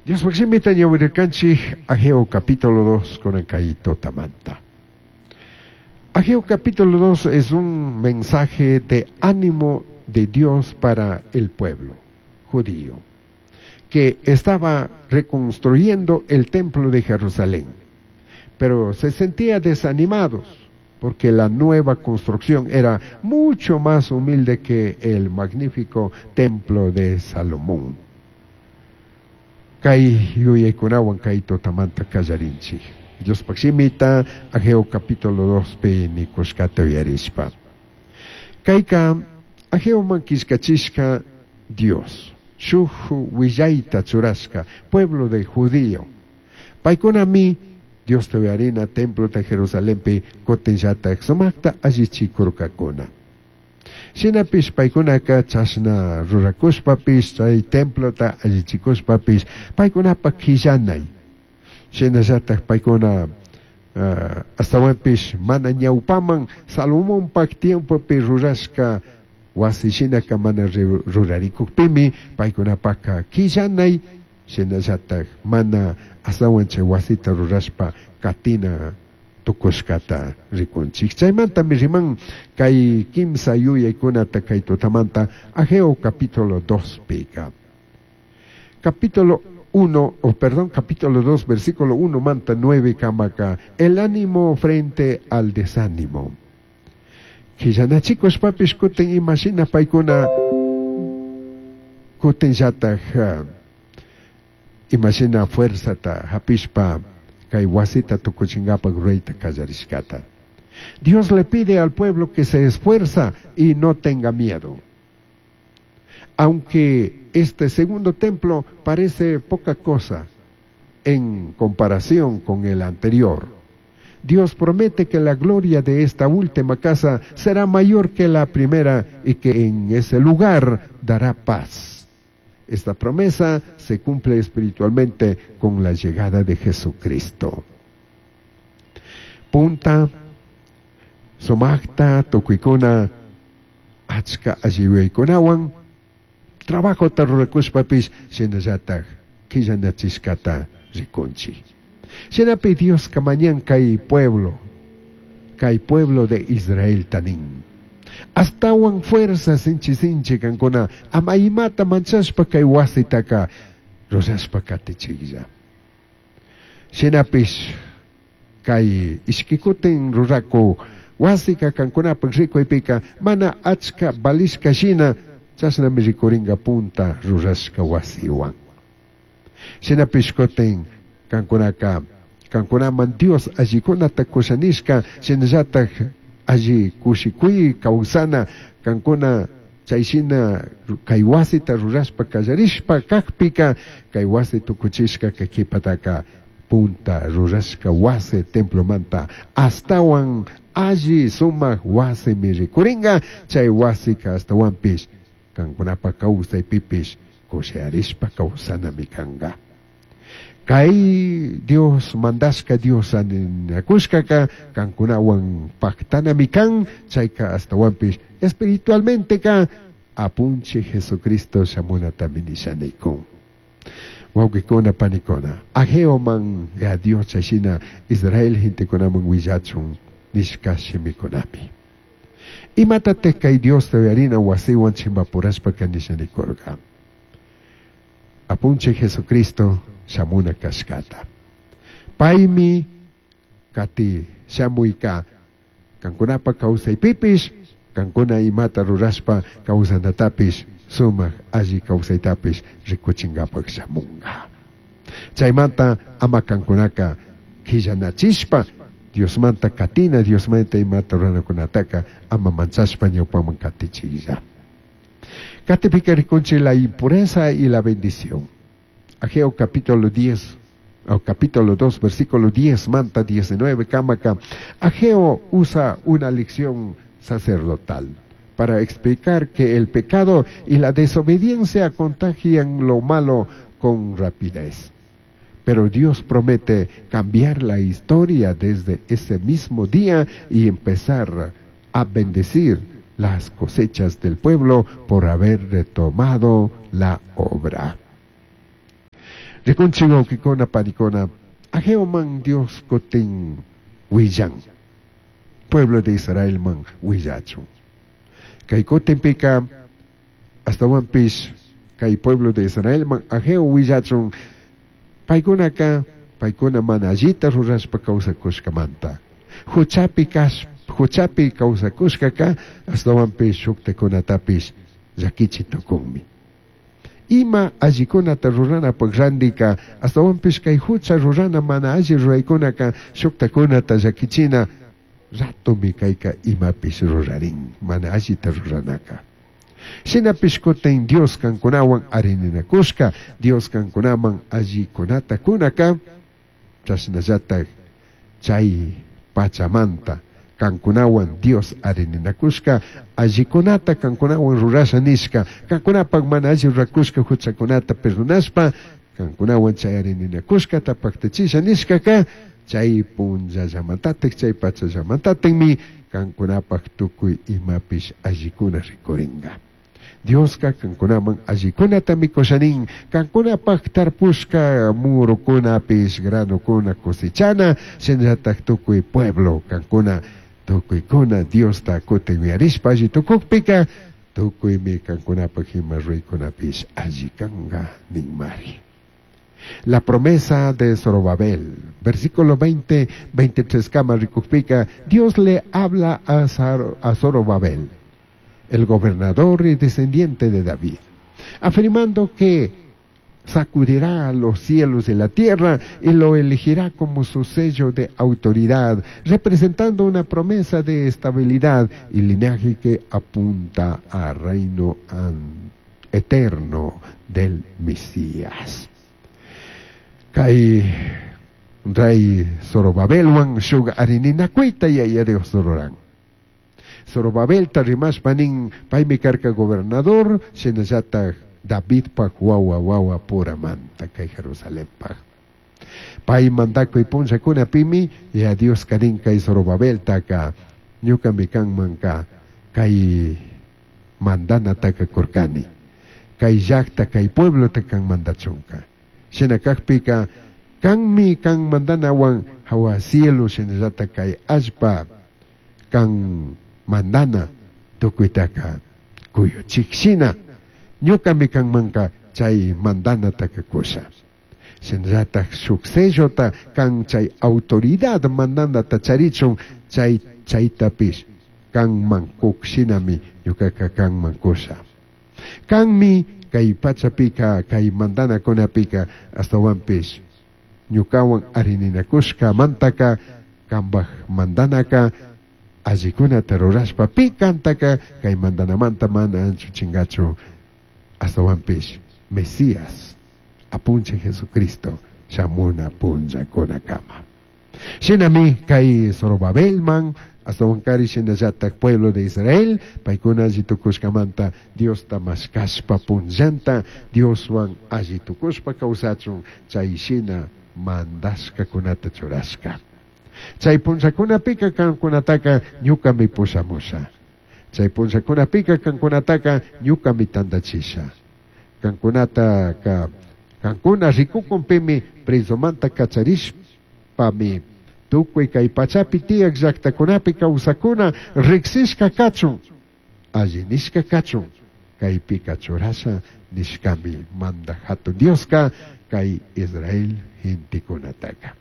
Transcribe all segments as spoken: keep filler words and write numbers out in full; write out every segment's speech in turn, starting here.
Diospaj shimita ñawirirkanchik Ageo capítulo dos con kay tutamanta. Ageo capítulo dos es un mensaje de ánimo de Dios para el pueblo judío que estaba reconstruyendo el templo de Jerusalén, pero se sentía desanimados porque la nueva construcción era mucho más humilde que el magnífico templo de Salomón. Kay yuyaykunawan kay tutamanta kallarinchik. Diospaj shimita Ageo capítulo dos pi nikushkata uyarishpa. Kayka Ageoman killkachishka Dios, shuj willayta churashka, pueblo de judío. Paykunami Diosta uyarina templo de Jerusalenpi kutinllatak sumakta allichikurkakuna. Shinapish paykunaka chashna rurakushpapish chay templota allichikushpapish paykunapak quillanay. Shinallatak paykuna uh, astawanpish mana ñawpaman Salomonpak tiempopi rurashka wasi shinaka mana rurarikukpimi paykunapaka quillanay, shinallatak mana astawan chay wasita rurashpa katina tukushkata rikunchik. Chaymantami riman kay kimsa yuyaykunata kay tutamanta Ageo capítulo dos pika. Capítulo uno, o perdón, capítulo dos, versículo uno manta nueve kamaka, el ánimo frente al desánimo. Quillanachikushpapish kutin imashina paykuna kutinllatak imashina fuerzata hapishpa kay wasita tukuchingapak rurayta kallarishkata. Dios le pide al pueblo que se esfuerza y no tenga miedo. Aunque este segundo templo parece poca cosa en comparación con el anterior, Dios promete que la gloria de esta última casa será mayor que la primera y que en ese lugar dará paz. Esta promesa se cumple espiritualmente con la llegada de Jesucristo. Punta, sumakta, tukuykuna, achka alliwaykunawan, trabajota rurakushpapish shinallatak quillanachishkata rikunchik. Shinapi Dioska mañan kay pueblo, kay pueblo de Israel tanin. Astawan fuerza sinchi sinchi kankuna, ama imata manchashpa kay wasitaka rurashpa katichiklla. Shinapish kay ishkikutin ruraku wasika kankunapak rikuypika mana achka valishka shina chashnami rikuringa punta rurashka wasiwan. Shinapish kutin kankunaka kankunaman Dios allikunata kushanishka shinallatak alli kushikuy kawsana kankuna chayshina kay wasita rurashpa kallarishpa kakpika kay wasi tukuchishka kay kipataka punta rurashka wasi templomanta astawan alli sumak wasimi rikuringa chay wasika astawanpish kankunapa kawsaypipish kushiyarishpa kawsanami kanga. Kay Dios mandashka Dios aninakushkaka kankunawan pactanami kan chayka astawanpish espiritualmente ka apunche Jesucristo shamunatami nishanaykun. Wawqikuna panikuna Ageoman ya Dios chayshina Israel gentekunaman willachun nishka shimikunami. Imatataq kay Diosta uyarina wasiwan chimpapurashpa nishanikurqa. Apunche Jesucristo shamuna kashkata. Paymi kati shamuyka kankunapa kawsaypipish kankuna imata rurashpa kawsanatapish sumak alli kawsaytapish rikuchingapak shamunga. Chaymanta ama kankunaka qillanachishpa Diosmanta katina Diosmanta imata ruranakunataka ama manchashpa ñawpaman katichilla. Katipika rikunchik la impureza y la bendición. Ageo capítulo diez, o capítulo dos, versículo diez, manta diecinueve, kamaka. Ageo usa una lección sacerdotal para explicar que el pecado y la desobediencia contagian lo malo con rapidez. Pero Dios promete cambiar la historia desde ese mismo día y empezar a bendecir las cosechas del pueblo por haber retomado la obra. Rikunchik wawqikuna panikuna, Ageoman Dios kutin willan, pueblo de Israelman willachun. Kay kutinpika astawanpish kay pueblo de Israelman Ageo willachun, paykunaka paykuna mana allita rurashpa kawsakushkamanta. Huchapi kash huchapi kawsakushkaka astawanpish shuktakunatapish llakichi tukunmi. Ima allikunata ruranapaq randika astawanpish kay hucha rurana mana alli ruraykunaka shuktakunata llakichina ratomi kayka imapish rurarin mana allita ruranaka. Shinapish kutin Dios kankunawan arininakushka, Dios kankunaman allikunata kunaka, chashnallatak chay pachamanta kankunawan Dios arininakushka, allikunata kankunawan rurasha nishka, kankunapak mana alli rurakushka huchakunata perdonashpa, kankunawan chay arininakushkata paktachisha nishkaka, chay punllallamantatik, chay pachallamantatikmi kankunapak tukuy imapish allikuna rikuringa. Dioska kankunaman allikunata mikushanin, kankunapak tarpushka murukunapish granukuna cosechana, shinallatak tukuy pueblo kankuna tukuykuna Diosta kutin uyarishpa alli tukukpika, tukuymi kankunapak ima ruykunapish alli kanga ninmari. La promesa de Zorobabel, versículo veinte, veintitrés kama rikukpika, Dios le habla a, Zar, a Zorobabel, el gobernador y descendiente de David, afirmando que sacudirá los cielos y la tierra y lo elegirá como su sello de autoridad, representando una promesa de estabilidad y linaje que apunta al reino eterno del Mesías. Kay rey Zorobabelwan shuk arininakuita yaya Dios ruran. Zorobabelta rimashpa nin paymi karka gobernador, shinallatak Davidpak wawa wawa puramanta kay Jerusalenpaj. Pay mandakuy punllakunapimi ya Dios kanin kay Zorobabeltaka ñukami kanmanka kay mandanataka kurkani, kay llaqta kay pueblota kan mandachunka. Shina kakpika kanmi kan mandanawan hawa cielo shinallata kay allpa kan mandana tukuytaka kuyuchik shina ñukami kanmanka chay mandanataka kusha. Shinallata shuk sellota kan chay autoridad mandanata charichun chay chaytapish kanman kuk shinami ñukaka kanman kusha. Kanmi kay pachapika kay mandanakunapika astawanpish ñukawan arininakushka mantaka kambaj mandanaka allikunata rurashpa pi kantaka kay mandanamanta mana anchuchingachu astawanpish Mesías apunche Jesucristo shamuna punllakunakama. Shinami kay Zorobabelman astawankari shinallatak pueblo de Israel paykuna alli tukushkamanta Diosta mashkashpa punllanta Dioswan alli tukushpa kawsachun chay shina mandashkakunata churashka. Chay punllakunapika kankunataka ñukami pushamusha. Chay punllakunapika kankunataka ñukami tandachisha. Kankunataka kankuna rikukunpimi presomanta kacharishpami tukuy kay pachapi tiyak llaqtakunapi kawsakuna riqsishka kachun, alli nishka kachun, kaypika churasha nishkami manda hatun Dioska kay Israel gentekunataka.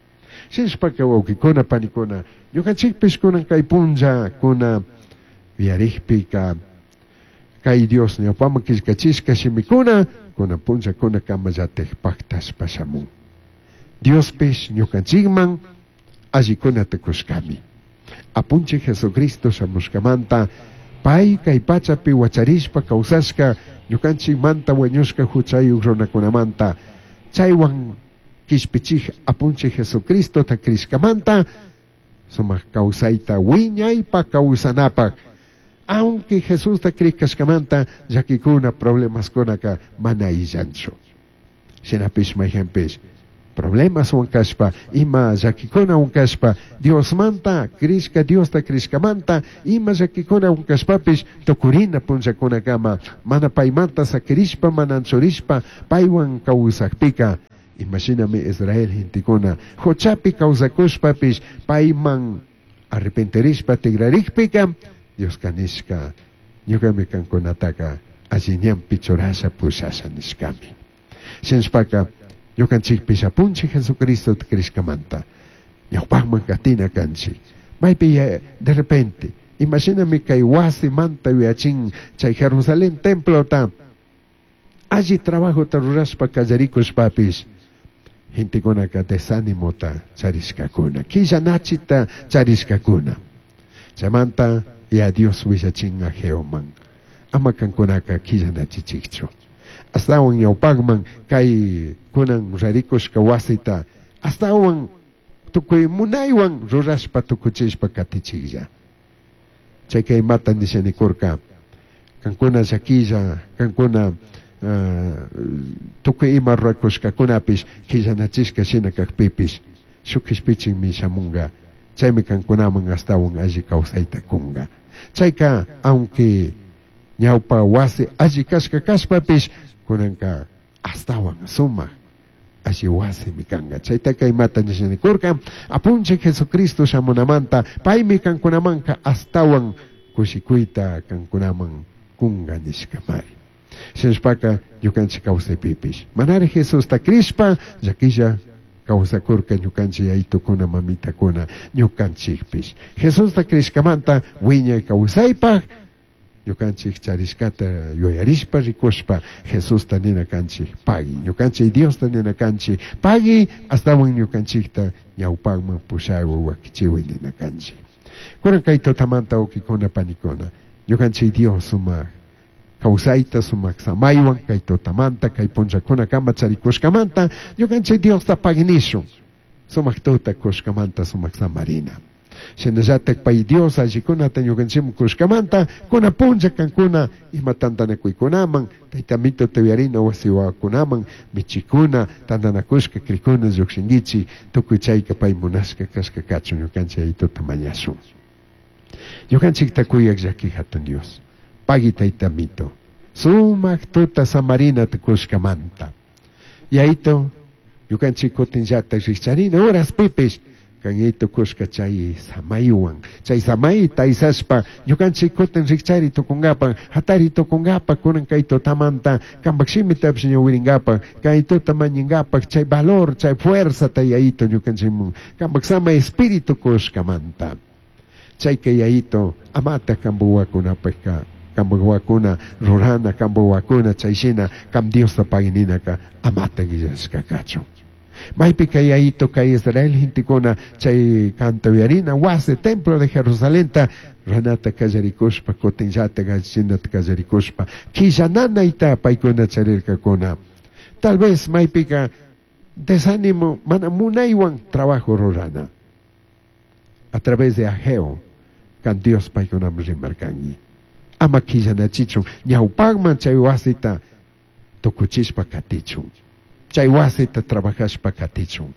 Shinshpaka wawqikuna panikuna, ñuqanchikpish kunan kay punllakuna uyarikpika kay Dios ñawpaman killkachishka shimikuna kunan punllakuna kamallatik paktashpa shamun. Diospish ñuqanchikman allikunata kushkami. Apunchik Jesucristo shamushkamanta pay kay pachapi wacharishpa kawsashka ñuqanchikmanta wañushka huchayuq runakunamanta chaywan kishpichik apunchik Jesucristota krishkamanta sumaq kawsayta wiñaypa kawsanapaq. Aunque Jesusta krishkamanta llakikuna problemaskunaka mana illanchu. Shinapish mayhanpish problemas wankashpa ima llakikuna wankashpa Diosmanta krishka Diosta krishkamanta ima llakikuna wankashpapish tukurina punllakunakama mana paymanta sakirishpa mana anchurishpa paywan kawsakpika Imashinami Israel gentekuna huchapi kawsakushpapish payman arrepentirishpa tigrarikpika Dioska nishka ñukami kankunataka alli ñanpi churasha pushasha nishkami. Shinashpaka ñukanchikpish apunchik Jesucristo crishkamanta ñawpakman katina kanchik. Maypi de repente imashinami kay wasimanta yuyachin chay Jerusalén templota alli trabajota rurashpa kallarikushpapish gentekunaka desánimota charishkakuna killanachita charishkakuna. Chaymanta ya Dios willachin Ageoman ama kankunaka killanachichikchu astawan ñawpakman kay kunan rarikushka wasita astawan tukuy munaywan rurashpa tukuchishpa katichiklla. Chayka imata nishanikurka kankuna llakilla kankuna uh, tukuy ima rurakushkakunapish killanachishka shina kakpipish shuk kishpichinmi shamunga chaymi kankunaman astawan alli kawsayta kunga. Chayka aunque ñawpa wasi alli kashka kashpapish kunanka astawan sumak alli wasimi kanga. Chaytaka imata nishanikurka apunchik Jesucristo shamunamanta paymi kankunamanka astawan kushikuyta kankunaman kunga nishkamari. Shinashpaka ñukanchik kawsaypipish manari Jesusta crishpa llakilla kawsakurka ñukanchik yayitukuna mamitakuna ñukanchikpish Jesusta crishkamanta wiñay kawsaypaq ñukanchik charishkata yuyarishpa rikushpa Jesusta nina kanchik pagui ñukanchik Diosta nina kanchik pagui astawan ñukanchikta ñawpakman pushawi wakichiwi nina kanchik. Kunan kay tutamanta wawkikuna panikuna ñukanchik Dios sumak kawsayta sumak samaywan kay tutamanta kay punllakunakama charikushkamanta ñukanchik Diosta paginishun sumak tuta kushkamanta sumak samarina. Shinallatak pay Dios allikunata ñukanchikman kushkamanta kuna punlla kankuna ima tantanakuykunaman tayta mito tayarina wasiwakunaman michikuna tantanakushka krikuna llukshinkichik tukuy chayka pay munashka kashka kachun ñukanchik ayituta mañashun. Ñukanchikta kuyak llaki hatun Dios pagui tayta mito sumak tuta samarinata kushkamanta yayito ñukanchik kutinllata rikcharina horaspipish kanito kushka chay samaywan chay samayta aysashpa ñukanchik kutin rikchari tukunkapa hatari tukunkapa kunan kay tutamanta kampak shimitapish ñawirinkapa kay tuta mañinkapa chay valor chay fuerzata yayito ñukanchikmun kampak samay espíritu kushkamanta chayka yayito amata kambuwakunapakka kambuwakuna rurana kambuwakuna chayshina kam Diosta pagininaka amata guillashka kachun. Maypika yayito kay Israel gentekuna chay kantawiyarina wasi templo de Jerusalenta ranata kallarikushpa kutinllata gallichinata kallarikushpa killananayta paykuna charirkakuna. Tal vez maypika desánimo mana munaywan trabajo rurana a través de Ageo kan Dios paykunaman rimarkanki ama killanachichun ñawpakman chay wasita tukuchishpa katichun chay wasita trabajashpa katichun.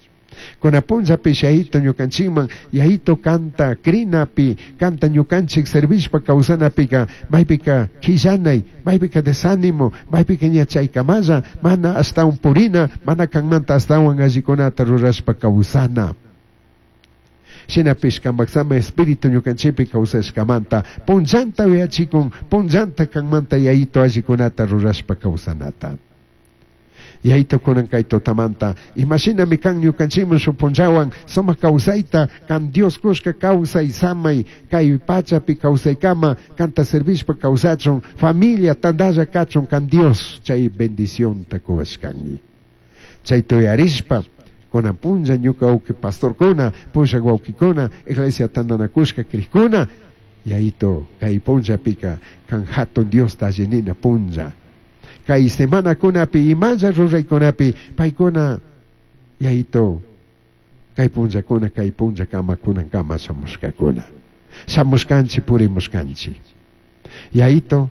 Kuna punllapish yayito ñukanchikman yayito kanta krinapi kanta ñukanchik servishpa kawsanapika maypika killanay maypika desánimo maypika ña chaykamalla mana astawan purina mana kanmanta astawan allikunata rurashpa kawsana. Shinapish kampak espíritu ñukanchikpi kawsashkamanta punllanta uyachikun punllanta kanmanta yayito allikunata rurashpa kawsanata. Yayito kunan kay tutamanta imashinami kan ñukanchikman shuk punllawan sumak kawsayta kan Dios kushka kawsay samay kay pachapi kawsaykama kanta servishpa kawsachun familia tantalla kachun kan Dios chay bendicionta kuwashkanki. Chay tuyarishpa kunan punlla ñuka wawki pastorkuna pushak wawkikuna iglesia tantanakushka krikuna yayito kay punllapika kan hatun Diosta allinina punlla. Kay semanakunapi imalla ruraykunapi paykuna yayito kay punllakuna kay punllakama kunankama shamushkakuna shamushkanchik purimushkanchik yayito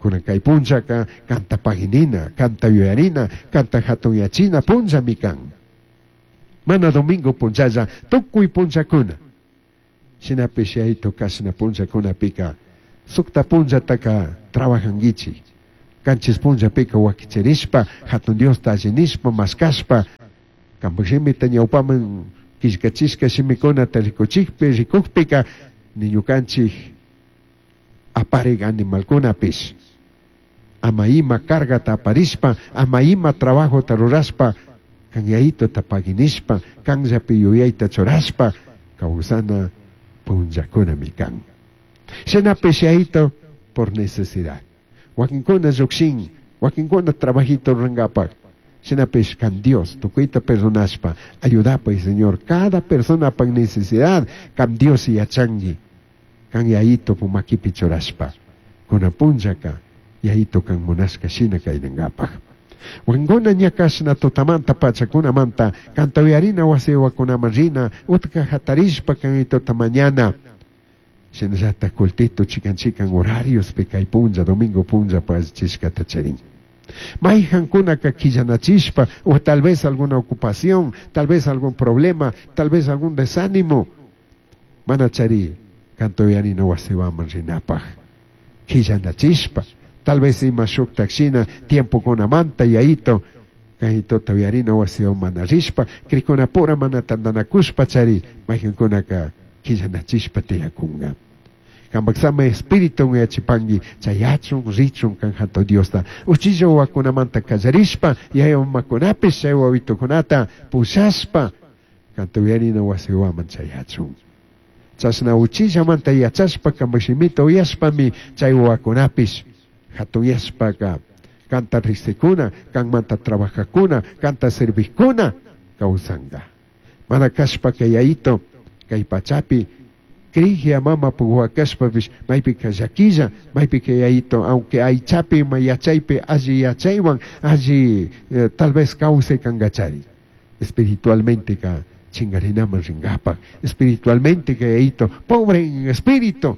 kunan kay punllaka kanta paginina kanta yuyarina kanta hatunyachina punllami kan mana domingo punllalla tukuy punllakuna shinapish yayito kashna punllakunapika sukta punllataka trabajankichik kanchis punllapika wakichirishpa hatun Diosta allinishpa mashkashpa Kanpak shimita ñawpaman killkachishka shimikunata rikuchikpi rikukpika ni ñukanchik aparik animalkunapish ama ima cargata aparishpa ama ima trabajota rurashpa kan yayitota paginishpa kanllapi yuyayta churashpa kawsana punllakunami kan. Shinapish yayito por necesidad. Wakinkuna llukshin, wakinkuna trabajito rurankapak. Shinapish kan Dios tukuyta perdonashpa ayudapay Señor cada persona pa necesidad kan Dios yachanki kan yayito makipi churashpa kunan punllaka yayito kan munashka shina kaynankapaq. Wakinkuna ña kashna tutamanta pachakunamanta kanta uyarina wasi wawakunaman rina utka hatarishpa kan yayitota mañana shinallatak cultito chikan chikan horariospi kay punlla domingo punlla pachishkata charin. Mayjankunaka quillanachishpa o tal vez alguna ocupación, tal vez algún problema, tal vez algún desánimo. Mana chari kanta uyarina wasiwaman rinapaj. Quillanachishpa, tal vez ima shuktak shina tiempokunamanta yayito kayitota uyarina wasiwan mana rishpa, crikunapura mana tantanakushpa chari mayjankunaka quillanachishpa tiyakunga. Kanpak sama espíritu yachipanki chayachun richun kan hatun Diosta uchilla wawakunamanta kallarishpa yaya mamakunapish chay wawitukunata pushashpa kanta uyarina wasiwaman chayachun. Chashna uchillamanta yachashpa kanpak shimita uyashpami chay wawakunapish hatunyashpaka kanta riqsikuna kanmanta trabajakuna kanta servijkuna kawsanka. Mana kashpaka yayito kay pachapi Krigia mama puhuakashpapish maypika llaquilla maypika yayito aunque aychapi ima yachaypi alli yachaywan alli eh, tal vez kawsay kankachari espiritualmente ka chingarinaman rinkapak espiritualmente ka yayito pobre en espíritu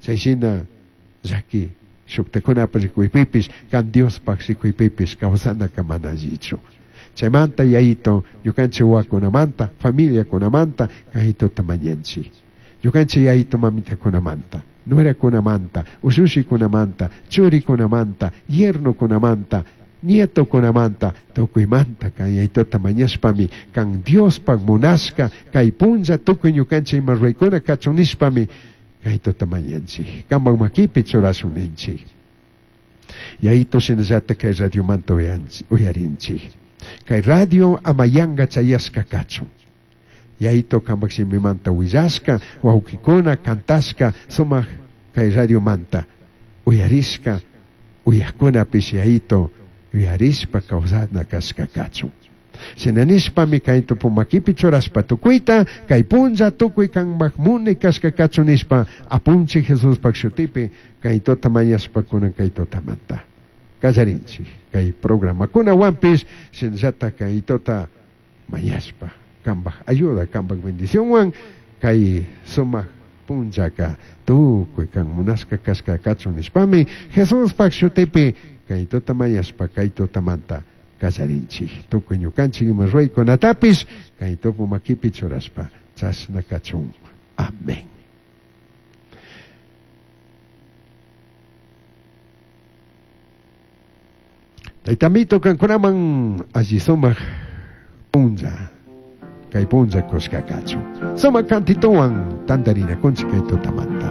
chay shina llaki shuktakunapa rikuypipish kan Diospaj rikuypipish kawsanaka mana allichu. Chaymanta yayito ñukanchik wawakunamanta familiakunamanta kayitota mañanchik. Ñukanchik yayito mamitakunamanta, nuerakunamanta, ushushikunamanta, churikunamanta, yernokunamanta, nietokunamanta, tukuymanta kan yayitota mañashpami kan Diospaj munashka kay punlla tukuy ñukanchik ima ruraykuna kachun nishpami kaytota mañanchik. Kanpak makipi churashun ninchik. Yayito shinallatak kay radiomanta uyarinchik. Kay radio ama yanka chayashka kachun. Yayito kanpak shimimanta willashka, wawkikuna kantashka sumak kay radiomanta uyarishka, uyajkunapish yayito uyarishpa kawsana kashka kachun. Shina nishpami kay tupumakipi churashpa tukuyta, kay punlla tukuy kanpak munay kashka kachun nishpa apunchik Jesuspak shutipi kay tota mañashpa kunan kay totamanta. Kallarinchik kay programakunawanpish shinallatak kay tota mañashpa kanpak ayuda, kanpak bendicionwan kay sumak punllaka tukuy kan munashka kashka kachun nishpami Jesuspak shutipi kay tota mañashpa kay totamanta kallarinchik tukuy ñukanchik ima ruraykunatapish kay tupu makipi churashpa chashna kachun. Amén. Taytamito kankunaman alli sumak punlla kay punlla kushka kachun. Sumak kantituwan tantarinakunchik kay tutamanta.